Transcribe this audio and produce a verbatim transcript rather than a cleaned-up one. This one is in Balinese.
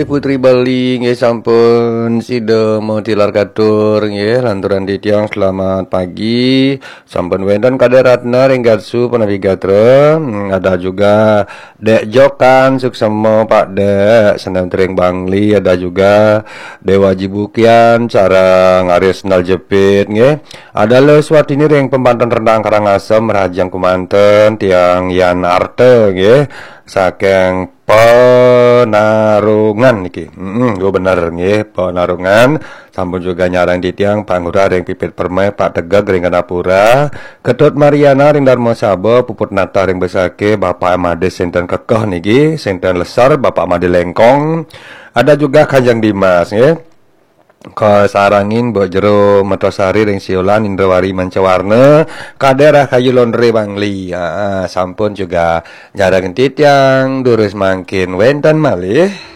Putri Bali nggih sampun sida matilar katur nggih, lanturan titiang selamat pagi. Sampun wénten Kadek Ratna ring garsu punapi gatra. Hmm, ada juga Dek Jokan Suksema, Pak Dek, Senen Tering Bangli, ada juga Dewa Jibukian, sareng Aris Naljepit nggih. Ada Leswatini ring Pembanten Rendang Karangasem, rahajeng kumanten, tiang Yan Arta nggih, saking Penarungan niki. Heeh, nggih bener nggih, Penarungan. Sampun juga nyarang titiang Pak Ngurah ring Pipit Permai, Pak Tegeg ring Gandapura, Ketut Mariana ring Darmasaba, Puput Natah ring Besakih, Bapak Made Senten Kekeh niki, Senten Lesar, Bapak Made Lengkong. Ada juga Kanjeng Dimas nggih. Kasarengin Mbok Jero Metosari ring Siolan, Indrawari Mancawarna, Kadek Rahayu Londre Bangli. Ah, sampun juga nyarang titiang, durus mangkin wénten malih.